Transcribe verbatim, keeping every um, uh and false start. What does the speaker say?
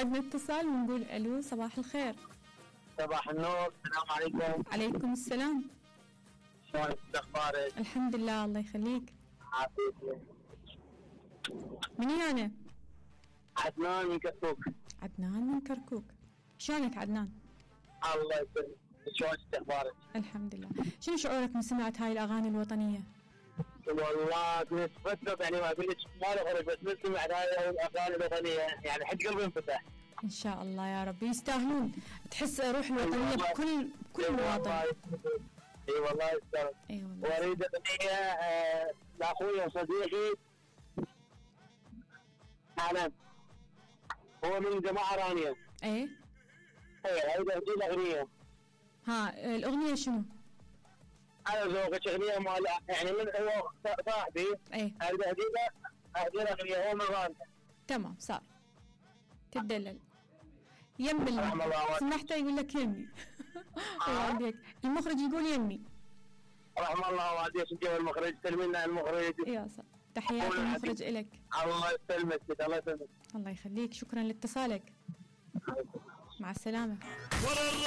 عندنا اتصال ونقول الو صباح الخير. صباح النور، السلام عليكم. عليكم السلام. شلونك؟ اخبارك؟ الحمد لله الله يخليك. عافيتك. مني انا؟ عدنان من كركوك. عدنان من كركوك، شلونك عدنان؟ الله يسلمك، شلونك اخبارك؟ الحمد لله. شنو شعورك من سمعت هاي الاغاني الوطنيه؟ والله كنت فترة يعني ما اقول لك ما اخرج، بس من سمعت هاي الاغاني الوطنيه يعني حد قلبي انفتح. ان شاء الله يا رب يستاهلون، تحس روح الوطنيه بكل بكل مواطن. اي والله يستاهل. اي والله. واريد اغنيه آه لاخوي وصديقي انا، هو من جماعه رانيا. ايه اي اريد اهدي له اغنيه. ها الاغنيه شنو؟ انا ذوقك اغنيه مال يعني من هو صاحبي. ايه اريد اهدي له اهدي له اغنيه هو من رانيا. تمام صار تدلل يم اللي سمحته يقول لك يمي. آه. المخرج يقول يمي. رحم الله والديك انت والمخرج، سلمنا المخرج. يا صح، تحيات المخرج إلك. الله يسلمك الله يسلمك. الله يخليك، شكرا لاتصالك. مع السلامة.